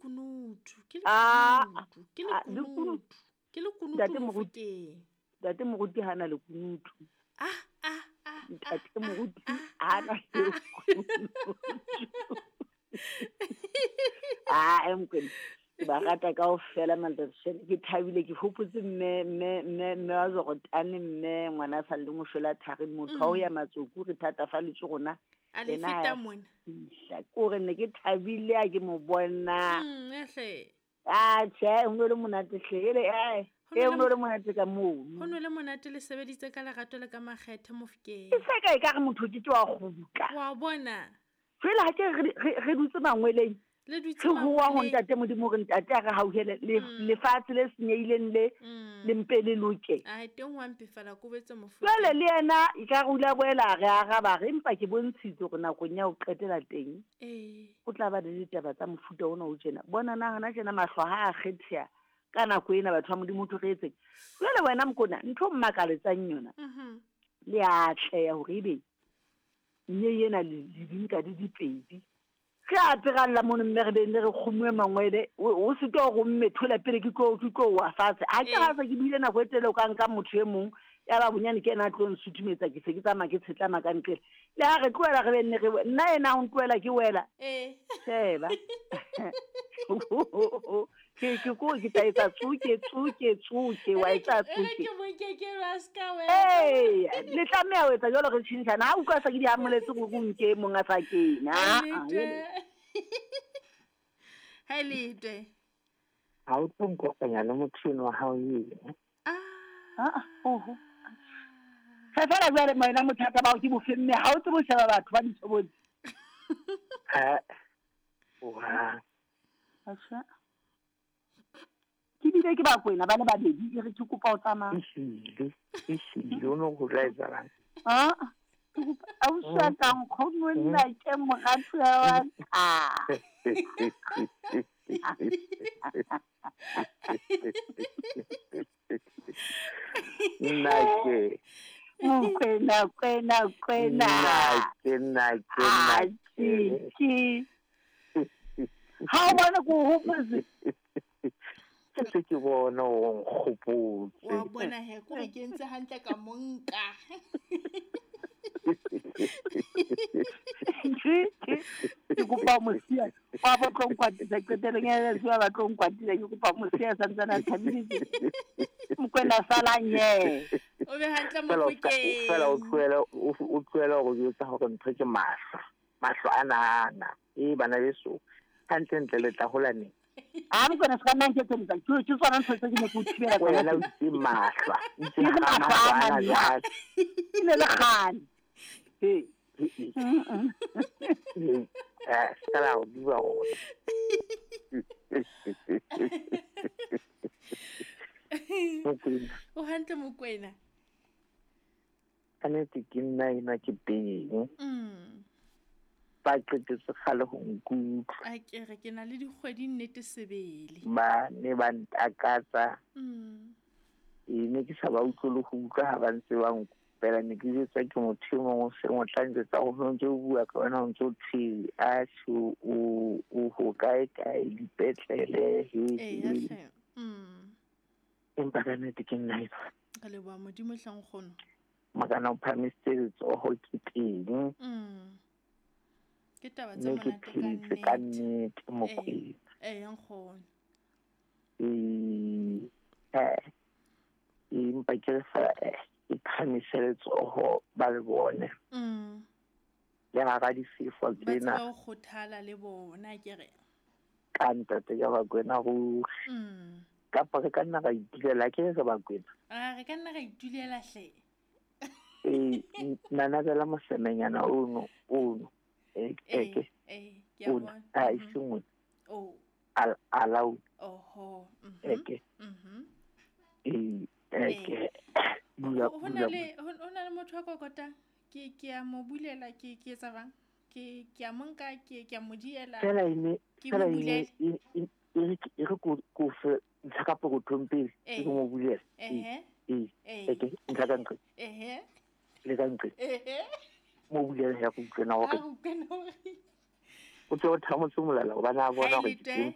lekunutu ke Ah, lekunutu ke ah, lekunutu. lekunutu ke lekunutu Ntate Moruti. mofokeng Ntate Moruti hana lekunutu. Ah, ah, ah, Ntate ah, Moruti ah, hana ah, ah. lekunutu. Ah, eh, Mokwena, ke ba rata kaofela mantatshene. Ke thabile ke hopotse mme mme mme mme wa Zorotane mme ngwana a sa leng ho shwela thari motho wa ho ya matsoku re thatafalletswe rona. A le Yena ha feta ya mona. fihla. Ke hore ne ke thabile ha ke mo bona. Eh hle. Ah, tjhe, ho no le monate hle. Ele, eh, Ho no eh, le ho no le monate ka mono. Ho no le monate le sebeditse ka lerato le ka makgethe mofokeng. E se ka ekare motho o ke ke wa kgutla. Wa bona. Jwale ha ke re dutse mangweleng. Le dutse Re hoa ho mangweleng. ntate Modimo hore ntate a re hauhele lefatshe le senyehileng le, le mpe le loke. Ai, teng wa mpefala kobetse mofokeng. Jwale le yena e ka re o ile a boela a re araba re, empa ke bontshitse hore nakong ya ho qetela teng, o tla ba le ditaba tsa mofuta ona o tjena. Bona na hona tjena mahlo ha a kgetheha ka nako ena batho ba Modimo ho thwe re etseng. Jwale wena Mokona, ntho e mmakaletsang yona, le a atleha hore ebe mme ena le di nka di dipedi. Re a peralla mono mme re be ne re kgomuwe mangwele, o se ke hore o mme thola pele ke tlo, ke tlo wa fatshe. Ha ke ha se ke buile nako e telele o ka nka motho e mong, ya ba bonyane ke yena a tlo nsutumetsa, ke se ke tsamaya ke tshetlama ka nqele. Le ha re tlohela re be nne re we-, nna yena o ntlohela ke wela. Sheba. Ke, ke ko, ke tla etsa tsoke, tsoke, tsoke, wa etsa Ere tsoke. ke mo ke ke ra ska wela. Ee, le tlameha ho etsa jwalo re tjhentjhana. Ha utlwa sa ke di amoletse hore o nke e mong a sa kene. Ah, ah, Nnete. jwale. Ha e letwe. Ha o tlo nkopanya le motho enwa wa hao eno. Ah. Ah, oho. Fe fela jwale wena mothata ba hao ke bofe mme ha o tsebe ho sheba batho ba ditshobotsi. Ha. Oha. Atjha. Ke bile ke ba kwena ba le babedi e re ke kopa o tsamaya. Ehlile, ehlile, o no ho tla etsahalang? Ah, ke kopa ausi wa ka nkgono nna ke moratuwa wa ka. Nna ke. Mokwena, kwena, kwena. Nna ke, nna ke, nna Ah, ke. ke. Ha o bona ke o hopotse. Ke se ke bona o nkgopotse. Wa bona he, ko re ke entse hantle ka mo nka. Ke kopa ho mo siya. Wa ba tlo nkwatisa qetelong ya letsatsi, wa ba tlo nkwatisa, ke kopa ho mo siya santsane a thabile tje. Mokwena sala nye. O be hantle Fela o ska-, Mofokeng. fela o tlohele, o, o tlohele hore o jwetsa hore ntho ke mahlo. Mahlo ana ana. E bana beso. Hantlentle le tla hola neng? Ha Mokwena se ka nna nketselletsa. Ke, ke tsona ntho tse ke ne ke o thibela tsona. Wena o itse mahlo. O itse Ke re mahlo mahlo ana ana jwale. Ke ne le kgale. Ee. Eh, se la o bua hore. Mokwena. O hantle Mokwena. Ka nnete ke nna enwa ke teng. Ba qetetse kgale ho nkutlwa. A ke re ke na le dikgwedi nnete sebele. Ba ne ba ntakatsa. E ne ke sa ba utlwe le ho utlwa ha ba ntse ba nkopela, ne ke jwetswa ke motho e mong o seng o tla njwetsa hore o ntse o bua ka wena, o ntse o thwe, atjhe, o ho kae kae, dipetlele, he, Ee, he. hle. Empa ka nnete ke nna enwa. Re leboha Modimo hle nkgono. Makana o phahamisitse letsoho ke teng. Ke taba tse Mme ke monate ka phetse ka nnete. nnete, Mokwena. Ee, nkgono. Ee, empa ke re fela, ke phahamise letsoho ba le bone. Le hara difefo Ba tseba tsena. ho kgothala le bona, ke re. Ka ntate ka Bakwena ruri. Kapa re ka nna ra itulela, ke re re Bakwena. Ah, re ka nna ra itulela hle. Ee, nanabela mosemenyana ono, ono. E, e, Ee, ke. ee, ke a Ona. bona. Ah, e seng ona. Oh. Alauna. Oho. E, ke. Ee, e, ke. Bula, Ho na bula, le, ho na le motho a kokotang. Ke, ke a mo bulela, ke, ke etsa bang? Ke, ke a mo nka, ke, ke a mo diela. Fela e ne, Ke fela mo e ne, bulele. e, e, e re ke, e re ko, ko fe, ntlha ka pokothong pele, Ee. ke mo bulele. Ehe. Ee, Ee. e ke, ntlha ka nqe. Ehe. Le ka nqe. Ehe. Mo bulele ya go utlwela hore A utlwela hore. O tswe o thamotse molala hobane a bona Ha e hore le ke teng. teng.